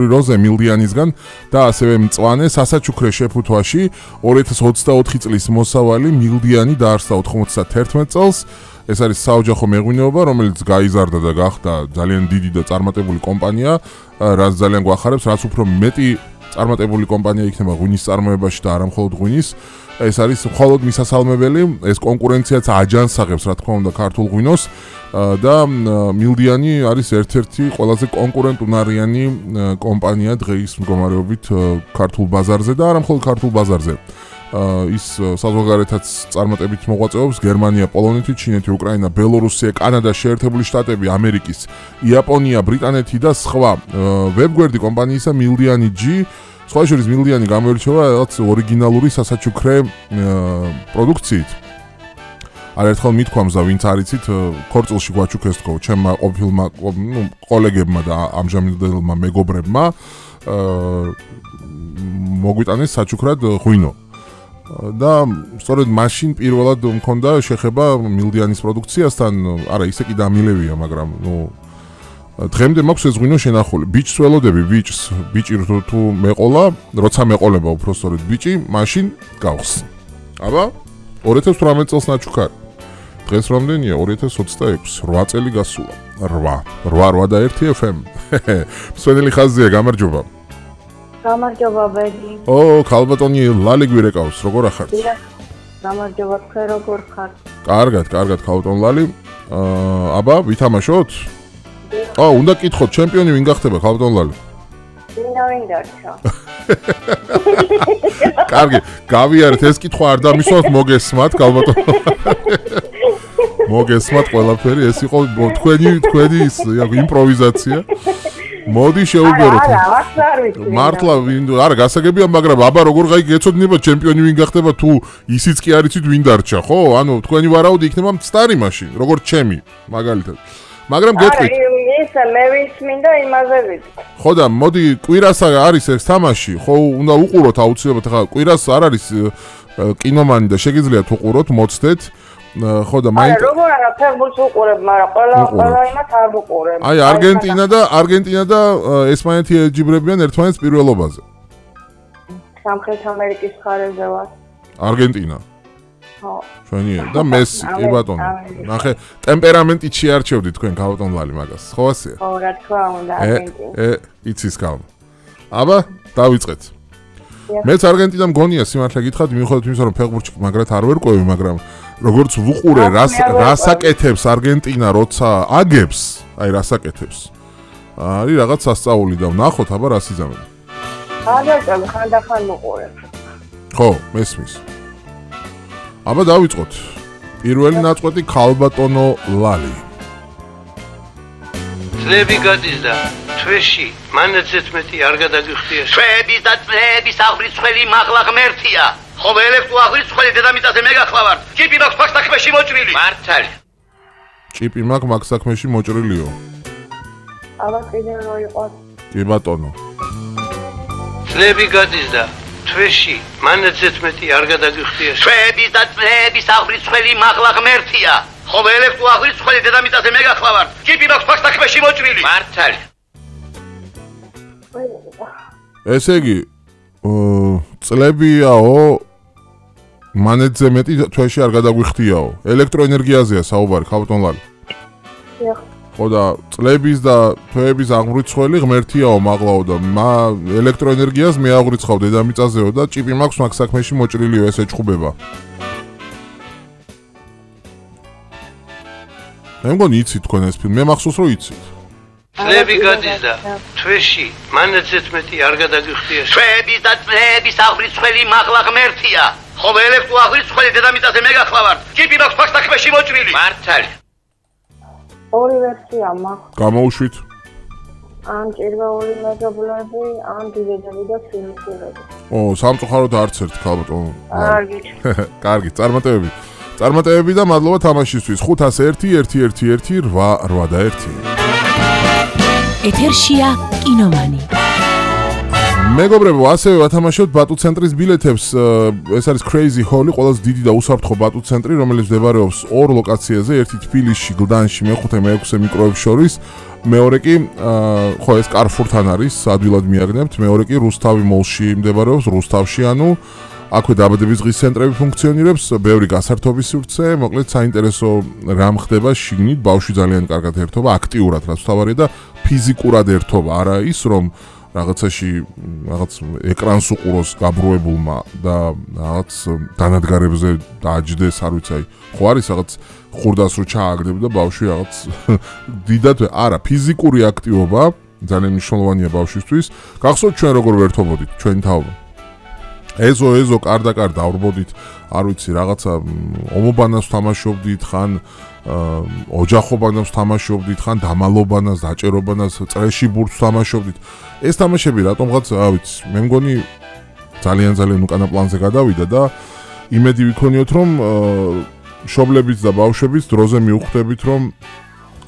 როზე მილდიანისგან და ასევე მწვანე სასაჩუქრე შეფუთვაში 2024 წლის მოსავალი მილდიანი დაარსდა 91 წელს. ეს არის საოჯახო მეღვინეობა, რომელიც გაიზარდა და გახდა ძალიან დიდი და წარმატებული კომპანია, რაც ძალიან გვახარებს, რაც უფრო მეტი წარმატებული კომპანია იქნება ღვინის წარმოებაში და არა მხოლოდ ღვინის. ეს არის მხოლოდ მისასალმებელი, ეს კონკურენციაც აჯანსაღებს, რა თქმა უნდა, ქართულ ღვინოს და მილდიანი არის ერთ-ერთი ყველაზე კონკურენტუნარიანი კომპანია დღეის მდგომარეობით ქართულ ბაზარზე და არა მხოლოდ ქართულ ბაზარზე. ის საზღვარგარეთაც წარმატებით მოღვაწეობს გერმანია, პოლონეთი, ჩინეთი, უკრაინა, ბელორუსია, კანადა, შეერთებული შტატები, ამერიკის, იაპონია, ბრიტანეთი და სხვა. ვებგვერდი კომპანიისა მილდიანი G სხვა შორის მილდიანი გამოირჩევა რაღაც ორიგინალური სასაჩუქრე პროდუქციით. არაერთხელ მithქვამს და ვინც არიცით, ქორწილში გვაჩუქეს თქო, ჩემმა ყოფილმა კოლეგებმა და ამჟამინდელმა მეგობრებმა მოგვიტანეს საჩუქრად ღვინო. და სწორედ მაშინ პირველად მქონდა შეხება მილდიანის პროდუქციასთან, არა ისე კი დამილევია, მაგრამ დღემდე მაქვს ეს ღვინო შენახული. ბიჭს ველოდები, ბიჭი თუ მეყოლა, როცა მეყოლება უფრო სწორედ ბიჭი, მაშინ გავს. აბა 2018 წელს ნაჩუქარი. დღეს რამდენია? 2026, 8 წელი გასულა. 8 და 1 FM. მსვენელი ხაზია, გამარჯობა. გამარჯობა ბედი. ქალბატონი ლალი გვირეკავს, როგორ ახართ? გამარჯობა, თქვენ როგორ ხართ? კარგად, ქალბატონ ლალი. აბა, ვითამაშოთ? უნდა კითხოთ, ჩემპიონი ვინ გახდება, ქალბატონ ლალი? ვინ დარჩა? კარგი, გავიარეთ, ეს კითხვა არ დამისვათ, მოგესმათ, ქალბატონ. მოგესმათ ყველაფერი, ეს იყო თქვენი ის იმპროვიზაცია. მოდი შეუბეროთ. მართლა არა გასაგებია, მაგრამ აბა როგორ გაიგეცოდინება ჩემპიონი ვინ გახდება თუ ისიც კი არიცით ვინ დარჩა, ხო? ანუ თქვენი ვარაუდი იქნება მცდარი მაშინ, როგორც ჩემი, მაგალითად. მაგრამ გეტყვით. ისე მე ვის მინდა იმაზე ვიტყვი. ხო და მოდი კვირას არის ეს თამაში, ხო უნდა უყუროთ აუცილებლად, ხა კვირას არ არის კინომანი და შეგიძლიათ უყუროთ, მოცდეთ. ხო და მაინც როგორ არა ფეხბურთს უყურებ, მაგრამ ყველა იმას არ უყურებ. აი არგენტინა და ესპანეთი ეჯიბრებიან ერთმანეთს პირველობაზე. სამხრეთ ამერიკის მხარეზე ვარ. არგენტინა. ხო. ჩვენია და მესი, კი ბატონო. ნახე, ტემპერამენტით შეარჩევდი თქვენ ქალბატონ ლალი მაგას. ხო ასეა? ხო, რა თქმა უნდა, არგენტინა. იცის კალმ. აბა, დავიწყეთ. მეც არგენტინა მგონია სიმართლე გითხრათ, მიუხედავად იმისა, რომ ფეხბურთში მაგრად არ ვერკვევი, მაგრამ როგორც ვუყურე, რასაკეთებს არგენტინა, როცა აგებს, აი რასაკეთებს. არის რაღაც სასწაული და ვნახოთ, აბა რას იზამენ. ხანდახან ხანდახან უყურებ. ხო, მესმის. აბა დავიწყოთ. პირველი ნაწყვეტი ქალბატონო ლალი. წლები გადის და თვეში მანაცეც მეტი არ გადაგიხდია. თვეების და წლების აღვრიცხველი მაღლა ღმერთია. ხოლო ელექტრო აღვრიცხველი დედამიწაზე მე გახლავარ. ჭიპი მაქვს მაგ საქმეში მოჭრილი. მართალი. ჭიპი მაქვს მაგ საქმეში მოჭრილიო. აბა კიდე რო იყოს. კი ბატონო. წლები გადის და თვეში მანაცეც მეტი არ გადაგიხდია. თვეების და წლების აღვრიცხველი მაღლა ღმერთია. ხოლო ელექტრო აღვრიცხველი დედამიწაზე მე გახლავარ. ჭიპი მაქვს მაგ საქმეში მოჭრილი. მართალი. ესე იგი წლებიაო მანეთზე მეტი თვეში არ გადაგვიხდიაო. ელექტროენერგიაზეა საუბარი, ქალბატონ ლალი. ხო და წლების და თვეების აღვრიცხველი ღმერთიაო მაღლაო და ელექტროენერგიას მე აღვრიცხავ დედამიწაზეო და ჭიპი მაქვს მაგ საქმეში მოჭრილიო, ეს ეჭხუბება. მე მგონი იცით თქვენ ეს ფილმი, მე მახსოვს რომ იცით. წლები გადის და თვეში მანაცეც მეტი არ გადაგიხდია. თვეების და წლების აღვრიცხველი მაღლა ღმერთია. ხოლო ელექტრო აღვრიცხველი დედამიწაზე მე გახლავარ. ჭიპი მაქვს მაგ საქმეში მოჭრილი. მართალი. ორი ვერსია მაქვს. გამოუშვით. ან ჭირვეული მეზობლები, ან დიდედები და ფილმები. სამწუხაროდ არც ერთ ქალბატონო. კარგი, წარმატებები და მადლობა თამაშისთვის. 501-111-881. ეთერშია კინომანი. მეგობრებო, ასევე ვათამაშოთ ბატუ ცენტრის ბილეთებს. ეს არის Crazy Hall-ი, ყველაზე დიდი და უსაფრთხო ბატუ ცენტრი, რომელიც მდებარეობს ორ ლოკაციაზე, ერთი თბილისში, გლდანში, მეხუთე, მეექვსე მიკროებს შორის. მეორე კი ხო ეს Carrefour-თან არის, ადვილად მიაგნებთ. მეორე კი რუსთავი მოლში მდებარეობს, რუსთავში, ანუ აქვე დაბადების დღის ცენტრები ფუნქციონირებს, ბევრი გასართობის სივრცე, მოკლედ საინტერესო რამ ხდება შიგნით, ბავშვი ძალიან კარგად ერთობა, აქტიურად რაც თავარია და ფიზიკურად ერთობა, არა ის რომ რაღაცაში რაღაც ეკრანს უყუროს გაბრუებულმა და რაღაც დანადგარებზე დააჯდეს, არ ვიცი, აი, ხო არის რაღაც ხურდას რო ჩააგდებ და ბავშვი რაღაც დიდად არა, ფიზიკური აქტივობა ძალიან მნიშვნელოვანია ბავშვისთვის. გახსოვთ ჩვენ როგორ ვერთობოდით ჩვენი თაობა? ეზო კარდაკარ დავრბოდით, არ ვიცი, რაღაცა ომობანას თამაშობდით, ხან ოჯახობანას თამაშობდით, ხან დამალობანას, დაჭერობანას, წრეში ბურთს თამაშობდით. ეს თამაშები რატომღაც, რა ვიცი, მე მგონი ძალიან უკანა პლანზე გადავიდა და იმედი ვიქონიოთ, რომ მშობლებიც და ბავშვებიც დროზე მიუხვდებით, რომ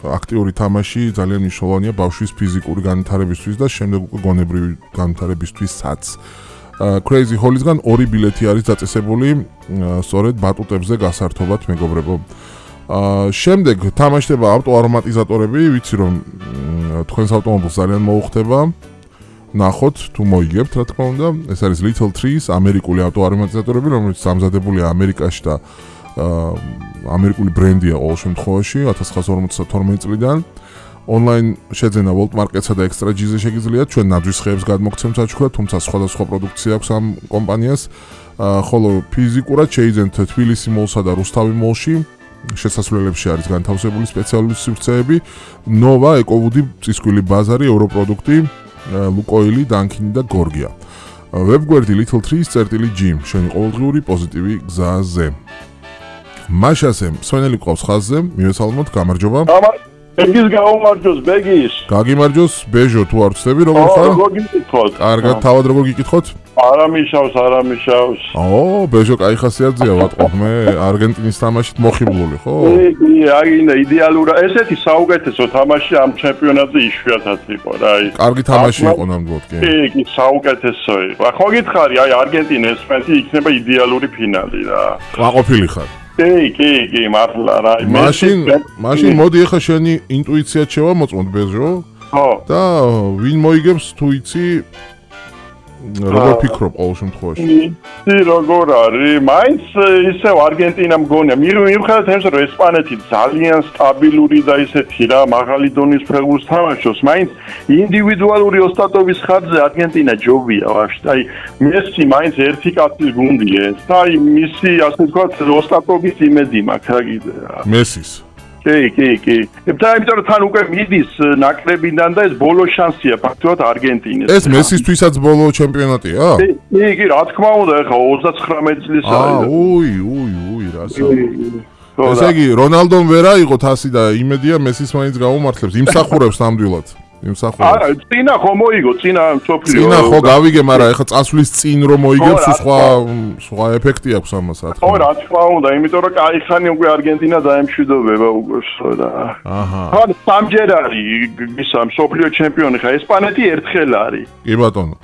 აქტიური თამაში ძალიან მნიშვნელოვანია ბავშვის ფიზიკური განვითარებისთვის და შემდეგ უკვე გონებრივი განვითარებისთვისაც. Crazy Holies-გან 2 ბილეთი არის დაწესებული სწორედ ბატუტებზე გასართობად, მეგობრებო. შემდეგ თამაშდება ავტოარომატიზატორები, ვიცი რომ თქვენს ავტომობილს ძალიან მოუხდება. ნახოთ თუ მოიგებთ, რა თქმა უნდა. ეს არის Little Trees, ამერიკული ავტოარომატიზატორები, რომელიც დამზადებულია ამერიკაში და ამერიკული ბრენდია ყოველ შემთხვევაში 1952 წლიდან. Online შეძენა World Market-სა და Extra G-ზე შეგიძლიათ, ჩვენ ნაძვის ხეებს გადმოგცემთ საჩუქრად, თუმცა სხვადასხვა პროდუქცია აქვს ამ კომპანიას. ხოლო ფიზიკურად შეიძენთ თბილისი მოლსა და რუსთავი მოლში. შესასვლელებში არის განთავსებული სპეციალური სივრცეები. Nova, EcoWood, წისქვილი ბაზარი, ევროპროდუქტი, Lukoil, Dunkin და Gorgia. ვებგვერდი Little Trees.g, შენი ყოველდღიური პოზიტივი გზაზე. მაშასე, სვენელი ყავს ხაზზე, მივესალმოთ, გამარჯობა. ბეგის გაუმარჯოს, ბეგის. გაგიმარჯოს, ბეჟო, თუ არ ვწდები, როგორ ხარ? როგორ გიკითხოთ? კარგად, თავად როგორ გიკითხოთ? არა მიშავს. ბეჟო, კაი ხასიათზეა, ვატყობ, მე არგენტინის თამაშით მოხიბლული, ხო? აი, იდეალურა, ესეთი საუკეთესო თამაში ამ ჩემპიონატზე იშვიათად იყო, რა, აი. კარგი თამაში იყო ნამდვილად, კი. კი, საუკეთესო იყო. ხო გითხარი, აი, არგენტინა ესპანეთი იქნება იდეალური ფინალი რა. ყვაყოფილი ხარ. კი, მართლა რა. მაშინ მოდი ახლა შენი ინტუიციად შევამოწმოთ, ბეჟო. ხო. და ვინ მოიგებს თუ იცი როგორ ფიქრობ ყოველ შემთხვევაში? როგორ არის? მაინც ისევ არგენტინა მგონია. მიუხედავად იმისა, რომ ესპანეთი ძალიან სტაბილური და ისეთი რა, მაღალი დონის ფეხბურთს თამაშობს, მაინც ინდივიდუალური ოსტატობის ხარჯზე არგენტინა ჯობია ვაფშე. აი, მესი მაინც ერთი კაცის გუნდია ეს. და აი, მისი ასე ვთქვათ, ოსტატობის იმედი მაქვს რა კიდე რა. მესის კი. და იმიტომ რომ თან უკვე მიდის ნაკრებიდან და ეს ბოლო შანსია ფაქტობრივად არგენტინას. ეს მესისთვისაც ბოლო ჩემპიონატია? კი, რა თქმა უნდა, ეხლა 39 წლის არის. უი, რასა. ესე იგი, რონალდომ ვერ აიღო თასი და იმედია მესის მაინც გაუმართლებს, იმსახურებს ნამდვილად. არა, წინა ხო მოიგო, წინა ხო გავიგე, მაგრამ ეხლა წასვლის წინ რომ მოიგებს, სხვა ეფექტი აქვს ამას, რა თქმა უნდა. ხო, რა თქმა უნდა, იმიტომ რომ კაი ხანი უკვე არგენტინა დაემშვიდობება უკვე და. ხო, სამჯერ არის ისა მსოფლიო ჩემპიონი ხა, ესპანეთი ერთხელ არის. კი ბატონო.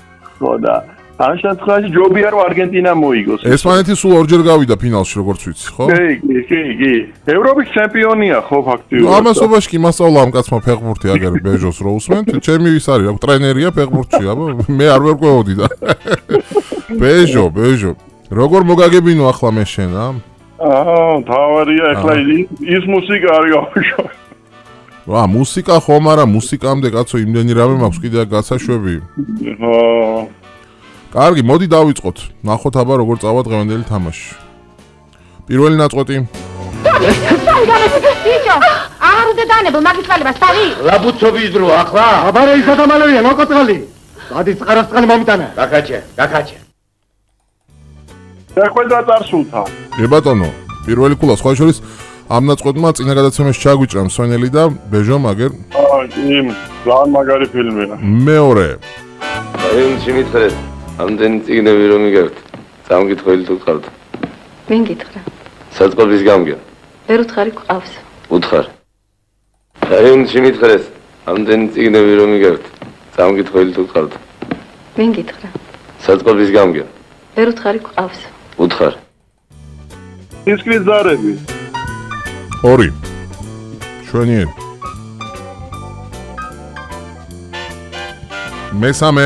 ხო და ამ შემთხვევაში ჯობია რომ არგენტინა მოიგოს. ესპანეთი სულ ორჯერ გავიდა ფინალში, როგორც ვიცი, ხო? კი. ევროპის ჩემპიონია ხო ფაქტიურად. ამასობაში კი მასწავლა ამ კაცმა ფეხბურთი აგერ ბეჟოს რო უსმენთ, ჩემი ვის არის, რა ტრენერია ფეხბურთში, აბა მე არ ვერკვევოდი და. ბეჟო, როგორ მოგაგებინო ახლა მე შენ, ა? თავარია ახლა ის მუსიკა არის აბშო. მუსიკა ხომ არა, მუსიკამდე კაცო იმდენი რამე მაქვს კიდე გასაშვები. ხო. კარგი, მოდი დავიწყოთ. ნახოთ აბა როგორ წავა დღევანდელი თამაში. პირველი ნაწყვეტი. აღარ უნდა დანებო მაგის წყალებას, თავი. ლაბუცობის დრო ახლა? აბარე ის ადამიანია, ნოკოწყალი. გადის წყარასწყალი მომიტანა. გაკაჩე. შეხვედრა წარსულთა. ბატონო, პირველი ქულა სხვა შორის ამ ნაწყვეტმა წინა გადაცემაში ჩაგვიჭრა მსვენელი და ბეჟო მაგერ. ძალიან მაგარი ფილმია. მეორე. აიუნში მითხრეთ, ამდენი წიგნები რომ იგებთ, სამკითხველი თუ გყავთ. ვინ გითხრა? საწყობის გამგე. ვერ უთხარი გყავს. უთხარ. აიუნში მითხრეთ, ამდენი წიგნები რომ იგებთ, სამკითხველი თუ გყავთ. ვინ გითხრა? საწყობის გამგე. ვერ უთხარი გყავს. უთხარ. ისკრის ზარები. 2. შვენიერი. მესამე